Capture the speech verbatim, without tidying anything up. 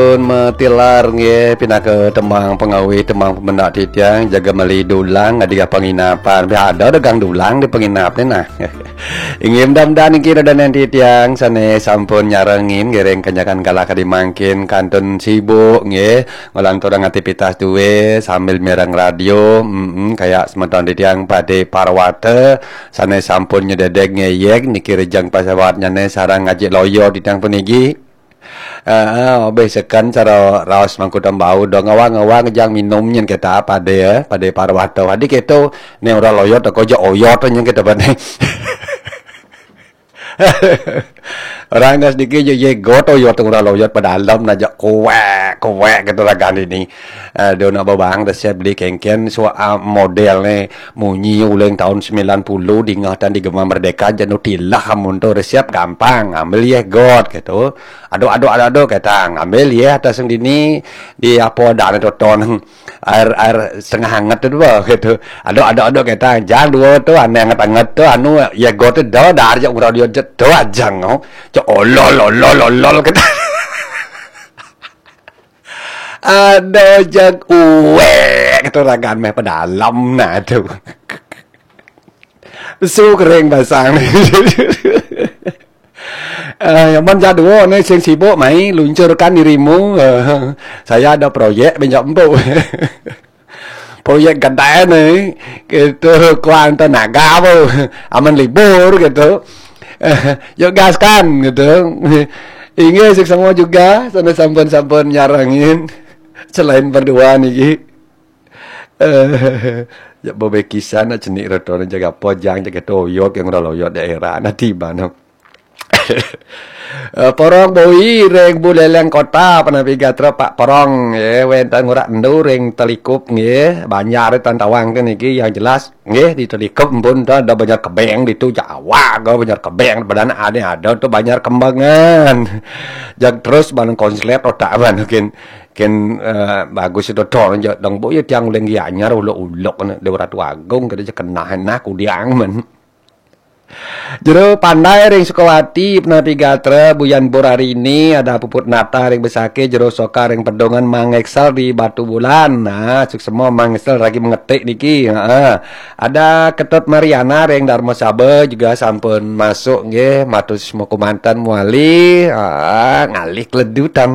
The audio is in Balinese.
Pun matilar nggih, pinaka tembang pangawih, tembang pemendak titiang, jaga meli dulang di penginapan. Pi ada dagang dulang di penginap ni nah. Inggih, mudah-mudahan niki dadan titiang sane sampun nyarengin ngiring kenyakan kalah kadi mangkin kantun sibuk nggih, ngelanturang aktivitas duwe sambil mireng radio. Mm-mm, kayak semeton titiang Pade Parwata sane sampun nyededeg ngeyek niki rejang pesawatnyane sareng ngajik loyo titiang puniki. Heeh, obeh seken cara raos mangku tembau do ngawang-ngawang jang minum nyen kita pade ya, pade parwata. Adi keto ne ora loyot teko ja oyot nyen kita bane. Orang gas dikit je ye got oyot ora loyot pada alam naja kuek kuek gitu ragan ini. Aduh, nak babang dah siap beli kengken suara model ne munyi ulang tahun sembilan puluh dingatan di Gema Merdeka janu tilah amun tu resep gampang ambil ye got gitu. Aduk, aduk, aduk, aduk, kata ngambil ye atas yang dini di apa dah ni toton air air setengah hangat tu dua gitu. Aduk, aduk, aduk, kata jang dua tu ane hangat-hangat tu anu ye got tu dah dah aja urang dia tu ajang oh. Cak olol olol olol kata. Ada jang uwe kata ragan meh pedalam nah tu. Su kering basang. Eh, amun jadwa ne sing sibuk mai luncurkan dirimu. Eh, saya ada proyek benjak empuk. Proyek gede ne gitu kuan tenaga apa. Amun libur gitu. Eh, yuk gaskan gitu. Inggih sing semua juga sana sampun-sampun nyarengin selain berdua niki. Eh, ya bebe kisah nak cenik retone jaga pojang jaga toyok yang ora loyot daerah nanti mana. Eh, porong boi reng buleleng kota panapi gatra pak porong ya wenten ngurak endu reng telikup nggih banjar tan tawang tu niki yang jelas nggih di telikup pun dah ada banjar kebeng di tu Jawa ke banjar kebeng badan ada ada tu banjar kembangan. Jak terus barang konslet otak ban mungkin ken eh, bagus itu dong dong bu ya tiang uleng anyar ulok-ulok ne Dewa Ratu Agung kada je kenah nah kudiang men. Jero pandai ring Sukawati penati gatra buyan bor hari ini ada puput nata ring besake jero soka ring pedongan mangeksel di Batu Bulan. Nah, suksema mangeksel lagi mengetik niki. Ha. Ada Ketut Mariana ring Dharma Saba juga sampun masuk nggih matur semua kumantan muali. Ha, ngalih keledutan.